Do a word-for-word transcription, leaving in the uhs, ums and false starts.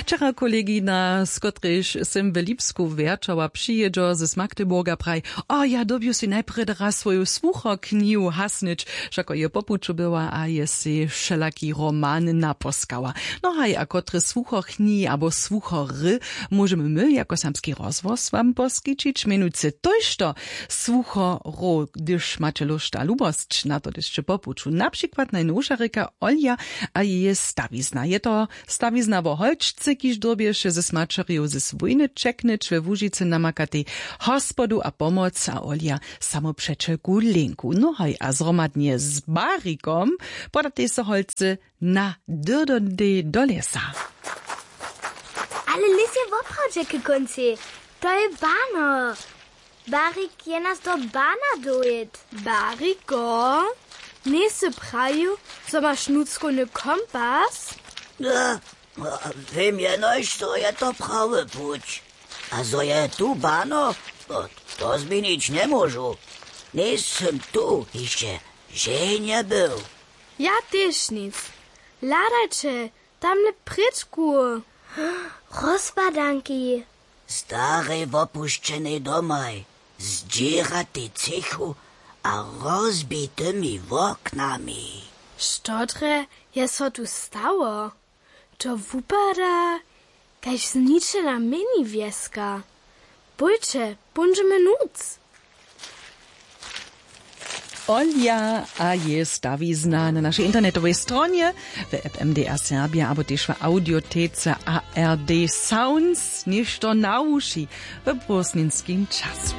Wčera kolegina, z kotrejž sym w Lipsku wjerćała, přijědźo z Magdeburga, praji: „O, ja dyrbju sej najprjedy raz swoju słuchoknihu hasnyć, wšako je po puću była a je sej wšelaki roman naposkała.“ No haj, a kotre słuchoknihi abo słuchory móžemy my jako serbski rozhłos wam poskićić? Mjenujcy tójšto słuchorow, hdyž maće lóšt a lubosć na to, hdyž po puću, na přikład najnowša rěka Olja a jeje stawizna. Je to stawizna wo holčce, kiž dyrbješe z maćerjow z wójny ćeknyć, we łužicy namakatej hospodu a pomoc a Olja samopřećelku Linku. No haj, a zhromadnje z Barikom podatej so holcy na dyrdodej do lěsa. Ale lěs je woprawdźe k kóncej. To je bano. Barik je nas do bana dowěd. Bariko, njejsy prajił, zo maš nutřkowny kompas? Wěm jenož, zo je to prawy puć. A zo je tu bano, to změnić njemóžu. Njejsym tu hišće ženje był. Ja tež nic. Hladajće, tamle prěčku. Rozpadanki. Starej wopušćenej domaj, zdźěratej třěchu a rozbitymi woknami. Što drje je so tu stało? To wupada kaž zničena mini wjeska. Pójće, póńdźemy nutř. Olja a jeje stawizna na našej internetowej stronje, w app M D R Serbia abo tež w audiotece A R D Sounds, něšto na wuši w prózdninskim času.